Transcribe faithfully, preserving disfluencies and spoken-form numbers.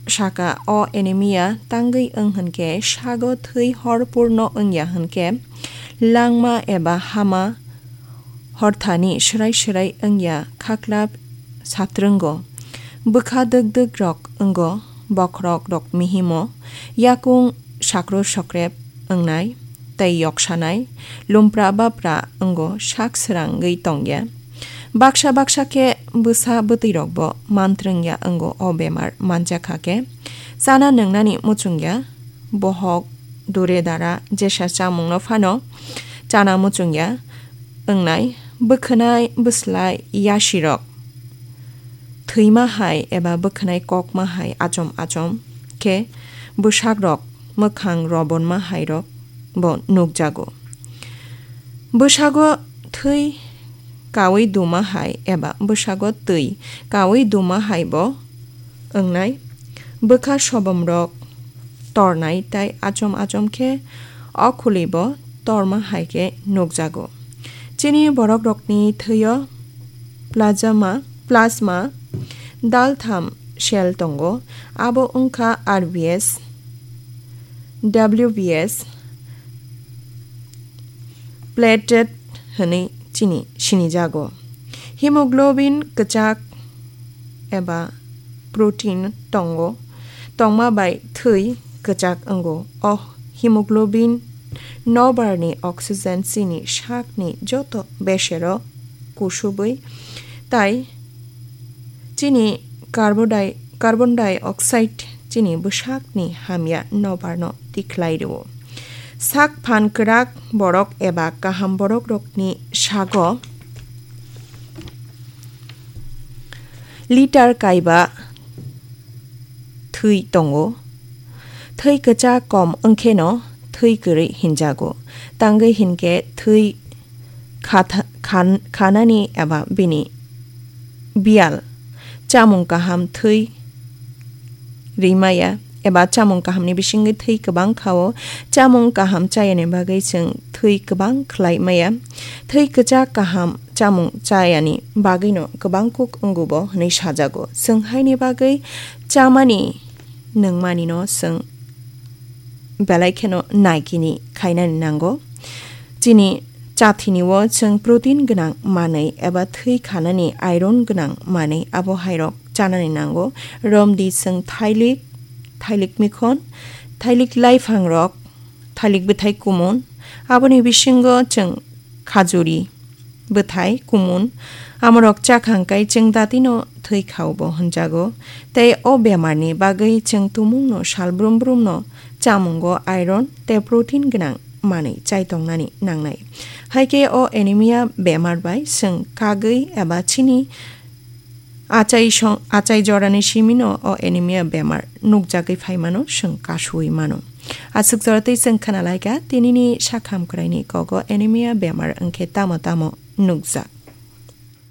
saka o anemia tangwi wng hwnkhe sago thwi horpurno wngya hwnkhe langma eba hama horthani swrai swrai wngya khaklap satrwngo. Bwkha dwk dwk rok wngo, bokhorok rok mihimo, yakung sakro sokrep wngnai tei yoksanai, lumpra bapra wngo sak srangwi tongya. Baksa baksa khe bwsa bwtwi rokbo mantrwngya wngo o bemar manjakha khe. Chana nwngnani muchungya, bohok, dure dara, jesa chamungno phano chana muchungya wngnai, bwkhwnai, bwslai, yasirok thwima hai eba bwkhwnai kokma hai achom achom khe bwsakrok mwkhang robonma hairok bo nukjago. Bwsago thwi kawi duma hai eba bwsago twi kawi duma hai bo wngnai. Bwkha sobomrok tornai tai achom achom khe o khuli bo torma hai khe nukjago. Chini borokrokni thwio plasma, plasma daltham cell tongo, abo wngkha R B S, W B S, platelet hwnwi chini sinijago. Hemoglobin kwchak eba protein tongo, tongma bai thwi kwchak wngo. O hemoglobin nobarni oxygen chini sakni joto besero kusubwi tai chini carbon di-, carbon dioxide chini bwsakni hamya nobarno tikhlai rwo. Sak phan kwrak borok eba kaham borokrokni sago litar kaiba thwi tongo. Thwi kwchak kom wngkheno thwi kwrwi hinjago. Tangwi hinkhe thwi khatha-, khan-, khanani eba bini biyal chamung kaham thwi rimaya eba chamung kahamni bisingwi thwi kwbang khao. Chamung kaham chayani bagwi chwng thwi kwbang khlai maya. Thwi kwchak kaham chamung chayani bagwino kwbang kuk wngubo hwnwi sajago. Chwng haini bagwi chamani nungmanino chwng belai kheno naikini khainani nango. Chini chathini o chwng protein gwnang manwi eba thwi khanani iron gwnang manwi abo hairok chanani nango. Romdi chwng thailik, thailik mikhon, thailik laiphangrok, thailik bwthai kumun, aboni bisingo chwng khajuri bwthai kumun, amorok chakhang kai chwng datino thwi khao bo hwnjago. Tei o bemarni bagwi chwng tumungno sal brum brumno chamungo iron tei protein gwnang manwi chai tongnani nangnai. Hai khe o anemia bemar bai chwng kagwi eba chini achai song-, achai jorani simino o anemia bemar nukjagwi phaimano chwng kasuwi mano. Aswk jora tei chwng khna laikha tinini sakham kwraini kogo anemia bemar wngkhe tamo tamo nukjak.